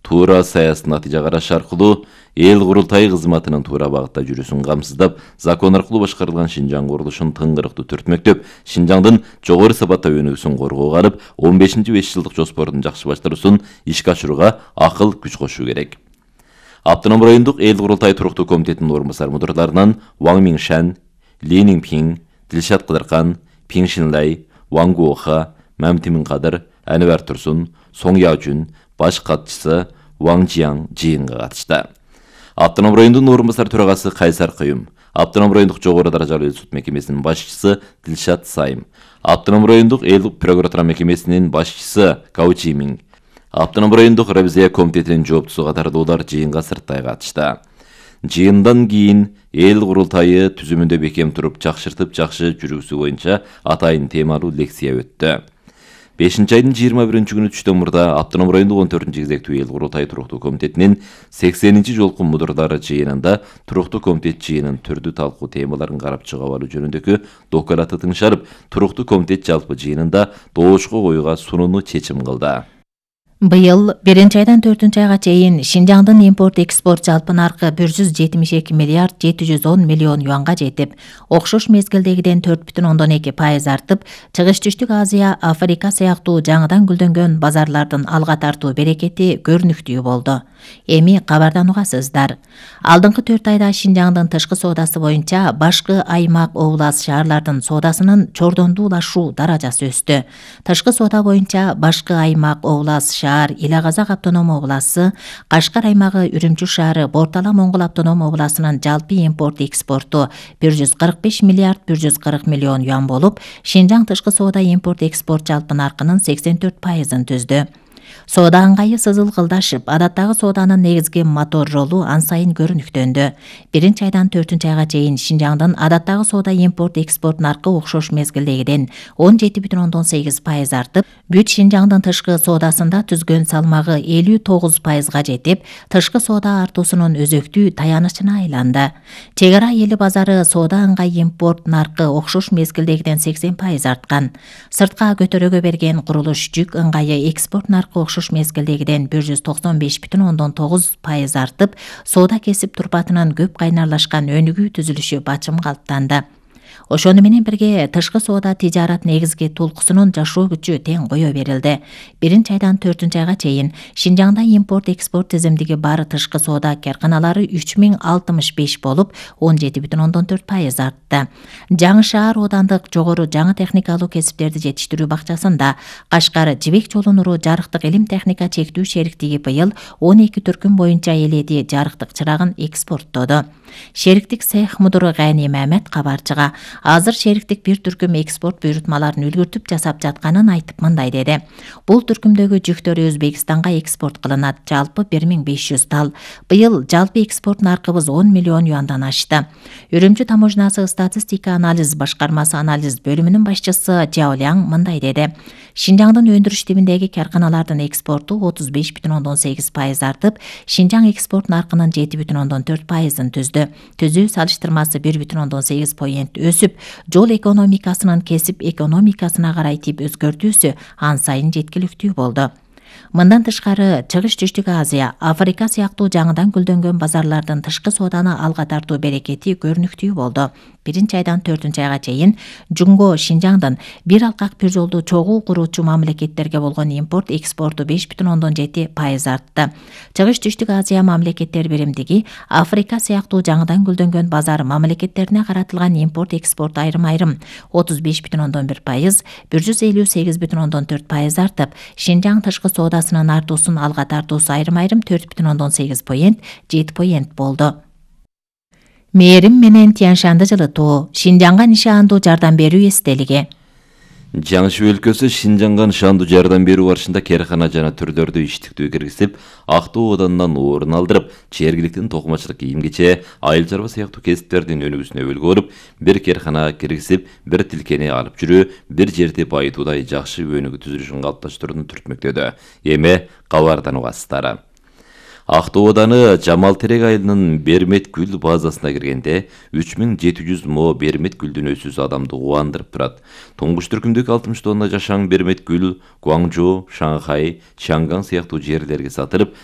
туура саясий натыйжа караш аркылуу эл курултайы кызматынын туура багытта жүрүүсүн камсыздап, закон аркылуу башкарылган Шинжаң курулушун тыңгырыктуу түртмөктөп, Шинжаңдын жогору сапаттуу өнүгүүсүн коргоого алып, 15-5 жылдык жоспордун жакшы баштаруусун ишке ашырууга акыл күч кошуу керек. Автоном райондук эл курултайы туруктуу комитетинин орун басар мудурларынан Ваң Миншан, Ли Ниңпиң, Дилшат Кыдыркан, Пиң Шинлай, Ваң Гуоха, Мамтимин Кадыр, Анвар Турсун, Соң Яожун, баш катчысы Ваң Жияң жыйынга катышты. Автоном райондун орун басар төрагасы Кайсар Кыюм, Автоном райондук жогору даражалуу суд мекемесинин башчысы Дилшат Сайым, Автоном райондук эл прокуратура мекемесинин башчысы Гау Чимин, Автоном райондук ревизия комитетинин жооптусу катардуулар жыйынга сырттай катышты. Жыйындан кийин эл курултайы түзүмүндө бекем туруп жакшыртып жакшы жүрүүсү боюнча атайын темалуу лекция өттү. 5-айдын 21-күнү түштөн мурда Автоном райондук 14-кезектүү эл курултайы туруктуу комитетинин 80-чи жолку мудурлары жыйынында туруктуу комитет жыйынын түрдүү талкуу темаларын карап чыгып алуу жөнүндөгү докладты тыңшарып, туруктуу комитет жалпы жыйынында доошко коюуга сонуну чечим кылды. Быйыл 1-айдан 4-айга чейин Шинжаңдын импорт-экспорт жалпы наркы 172 миллиард 710 миллион юанга жетип, окшош мезгилдегиден 4,2% артып, Чыгыш-Түштүк Азия, Африка сыяктуу жаңыдан гүлдөнгөн базарлардын алга тартуу берекети көрүнүктүү болду. Эми кабардан угасыздар. Алдыңкы 4 айда Шинжаңдын тышкы соодасы боюнча башкы аймак, облас, шаарлардын соодасынын чордондуулашуу даражасы өстү. Тышкы соода боюнча башкы аймак, облас, шаар, Ила-Казак автоном обласы, Кашкар аймагы, Үрүмчү шаары, Бортала Моңгол автоном обласынын жалпы импорт-экспорту 145 миллиард 140 миллион юан болуп, Шинжаң тышкы соода импорт-экспорт жалпы наркынын 84%-ын түздү. Соода ыңгайы сызылгылдашып, адаттагы сооданын негизги мотор ролу ан сайын көрүнүктөндү. 1-айдан 4-айга чейин Шинжаңдын адаттагы соода импорт-экспорт наркы окшош мезгилдегиден 17,8% артып, бүт Шинжаңдын тышкы соодасында түзгөн салмагы 59%га жетип, тышкы соода артуусунун өзөктүү таянычына айланды. Чек ара эли базары соода ыңгай импорт наркы окшош мезгилдегиден 80% арткан. Сыртка көтөрөгө берген курулуш жүк ыңгайы экспорт наркы окшош мезгилдегиден 195,9% артып, соода кесип турпатынын көп кайнарлашкан өнүгүү түзүлүшү бачым калыптанды. Ошону менен бирге тышкы соода тижарат негизги тулкусунун жашоо күчү тең кое берилди. 1-айдан 4-айга чейин Шинжаңда импорт-экспорт тизимдиги бар тышкы соода карканалары 3065 болуп, 17,4% артты. Жаңы шаар оодандык жогору жаңы техникалуу кесиптерди жетиштирүү бакчасында Кашкар Жибек жолу нуру жарыктык илим техника чектүү шериктиги быйыл 12 түркүм боюнча эледи жарыктык чырагын экспорттоду. Шериктик цех мудуру Гайни Мамет кабарчыга азыр шериктик бир түркүм экспорт буйрутмаларын үлгүртүп жасап жатканын айтып мындай деди. Бул түркүмдөгү жүктөр Өзбекстанга экспорт кылынат, жалпы 1500 тал. Быйыл жалпы экспорт наркыбыз 10 миллион юандан ашты. Үрүмчү таможнасы статистика анализ башкармасы анализ бөлүмүнүн башчысы Жаоляң мындай деди. Шинжаңдын өндүрүш тибиндеги карканалардын экспорту 35,8% артып, Шинжаң экспорт наркынын 7,4%-ын түздү. Түзүү салыштырмасы 1,8% өсүп, жол экономикасынын кесип экономикасына карай тип өзгөртүүсү ан сайын жеткиликтүү болду. Мындан тышкары Чыгыш-Түштүк Азия, Африка сыяктуу жаңыдан гүлдөнгөн базарлардын тышкы сооданы алга тартуу берекети көрүнүктүү болду. 1-айдан 4-айга чейин Жунго Шинжаңдын бир алкак бир жолду чогуу куруучу мамлекеттерге болгон импорт экспорту 5,7% артты. Чыгыш-Түштүк Азия мамлекеттер биримдиги Африка сыяктуу жаңыдан гүлдөнгөн базар мамлекеттерине каратылган импорт экспорт айрым-айрым 35,1%, 158,4% артып, Шинжаң тышкы соодасынын артуусун алга тартуусу айрым-айрым 4,8%, 7% болду. Мээрим менен Тянь-Шанды жылытуу, Шинжаңга нишандуу жардам берүү эстелиги. Жаңышуу өлкөсү Шинжаңга нишандуу жардам берүү барышында керкана жана түрлөрдү иштиктүү киргизип, Актоо оданынан орун алдырып, жергиликтин токумачылык кийим-кече, айыл чарба сыяктуу кесиптердин өнүгүүсүнө өбөлгө болуп, бир керкана киргизип, бир тилкени алып жүрүү, бир жерди байытуудай жакшы өнүгүү түзүлүшүн калыпташтырууну түртмөктөдү. Эми кабардан угасыздар. Актоо ооданы Жамал Терек айылынын Бермет гүл базасына киргенде 3700 мо Бермет гүлдүн өсүүсү адамды кубандырып турат. Туңгуч түркүмдөгү 60 тонна жашаң Бермет гүл Гуаңжоу, Шанхай, Чанган сыяктуу жерлерге сатылып,